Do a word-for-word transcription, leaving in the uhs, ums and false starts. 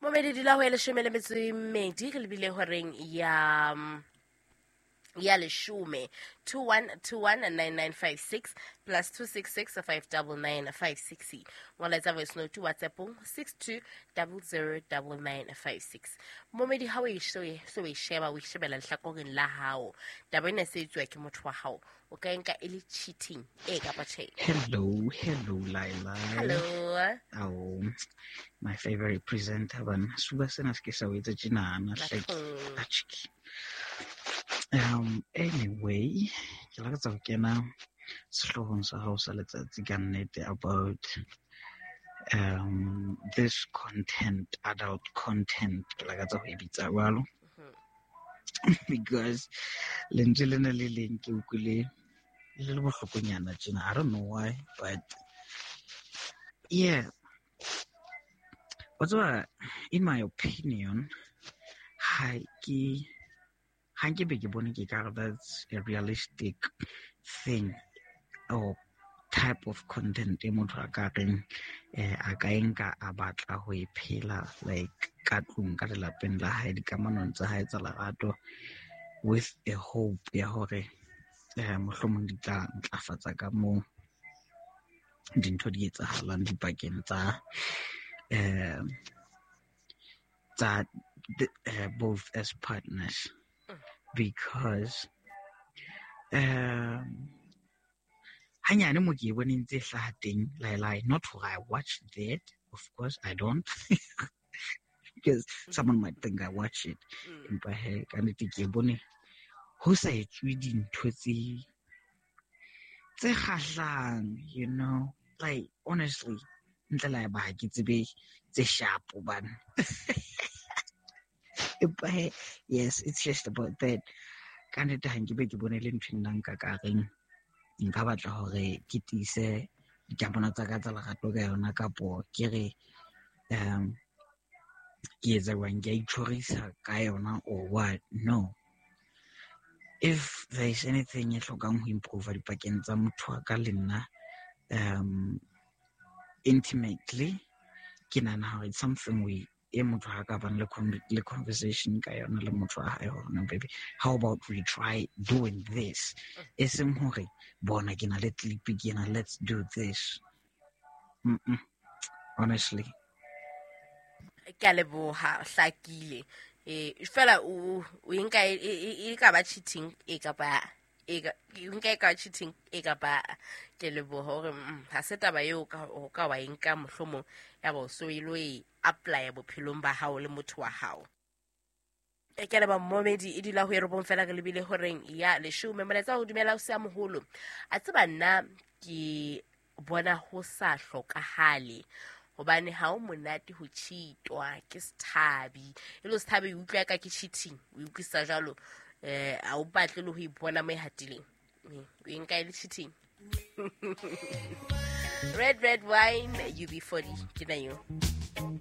Momedi dula ho ya leshome le metso e mmedi re lebile horeng ya mm, ya leshome. two one two one nine nine five six plus two six six five double nine five six. Molaetsa voice note WhatsAppong six two double zero double nine five six. Momedi ha o e so e so e sheba o e shebela lehlakoreng la hao. Taba ena e se etsuwa ke motho wa hao. O ka e nka e le cheating e kapa tjhe? Hello, hello, Laila. Hello. Oh, my favorite presenter bana. Suba sena se ke sa o etsa tjenana hleke. Bathong. Atjhe. Um, anyway, ke lakatsa ho kena sehloohong sa hao sa letsatsi ka nnete about um this content, adult content, ke lakatsa ho e bitsa jwalo. Because lentswe lena le leng ke utlwile le le bohlokonyana tjena. I don't know why, but yeah. Wa tseba, in my opinion, ha ke ha nke be ke bone ke ka re that's a realistic thing or type of content e motho a ka reng eh, a ka e nka a batla ho e phela like ka tlung, ka lelapeng la hae, dikamanong tsa hae tsa lerato, with a hope ya hore eh, mohlomong di tla ntlafatsa ka moo dintho di etsahalang dipakeng tsa eh, tsa the, eh, both as partners. Because um hanyane mo ke e bone ntse e hlaha teng, Laila, not hore I watch that, of course I don't, because someone might think I watch it. Mm. Empa he, ka nnete ke e bone ho sa etswe dintho tse tse kgahlang, you know, like honestly, ntle le haeba ha ke tsebe tse sharp hobane. Empa he, yes, it's just about that. Ka nnete ha nke be ke bone le ntho e nna nka ka reng nka batla hore ke tiise dikamano tsa ka tsa lerato ka yona, kapo ke re um ke etsa jwang, ke a itjhorisa ka yona or what. No, if there is anything e hlokang ho improve dipakeng tsa motho wa ka le nna um intimately, ke nahana hore it's something we e motho ha ka bang le con-, le conversation ka yona le motho wa hae hore no baby, how about we try doing this, e seng hore bona ke na le clip ke ena, let's do this. Mm-mm. Honestly. Ke a leboha, hlakile. Eh, fela o, o nka e, e, e, e ka ba cheating e kapa e ka, e nka e ka cheating e kapa ke leboha hore, mm, ha se taba eo ka, o ka wa e nka mohlomong ya ba o so e lo e apply bophelong ba hao le motho wa hao. E ke leba momedi e dula ho e robong fela re lebile horeng ya leshome. Molaetsa ho dumela o se a moholo. A tseba nna ke bona ho sa hlokahale hobane ha o monate ho cheatwa ke sethabi. E le sethabi o utlwa ka ke cheating, o utlwisa jwalo, eh, ha o batle le ho ipona mo e hatileng. Eh, o e nka e le cheating. Red, red wine, U B forty, ke na yo.